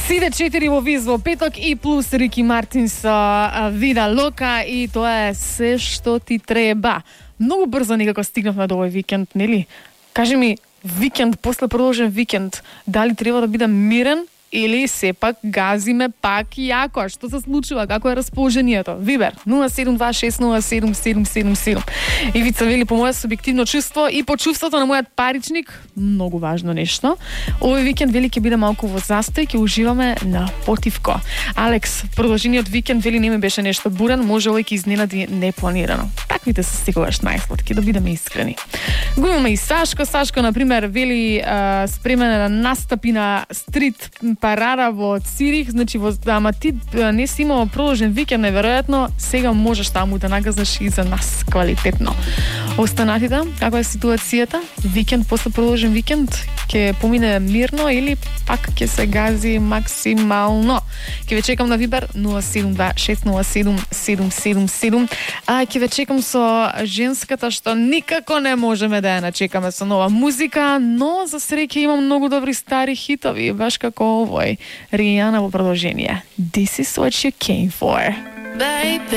Сиде 4 во Виз во петок и плюс Рики Мартин со Вида Лока и тоа е се што ти треба. Многу брзо некако стигнавме до овој викенд, нели? Кажи ми, викенд, после продолжен викенд, дали треба да биде мирен или сепак газиме пак јако? Што се случува? Како е расположението? Вибер 072607777. Ивица вели, по моје субјективно чувство и по чувството на мојот паричник, многу важно нешто. Овој викенд вели ќе биде малку во застој, ќе уживаме на потивко. Алекс, продолжениот викенд вели не ми беше нешто бурен, може овој ќе изненади непланирано. Таквите се секогаш најсладки, да бидеме искрени. Го имаме и Сашко. Сашко, например, вели спремен да настапи на стрит парада во Цирих, значи ама ти не си имал продолжен викенд, неверојатно, сега можеш таму да нагазнеш и за нас квалитетно. Останатите, каква е ситуацијата? Викенд после продолжен викенд ќе помине мирно или пак ќе се гази максимално? Ќе ве чекам на Вибер 072607777. Ќе ве чекам со женската што никако не можеме да ја начекаме со нова музика, но за среќа имам многу добри стари хитови, баш како овој. Ријана во продолжение. This is what you came for. Baby.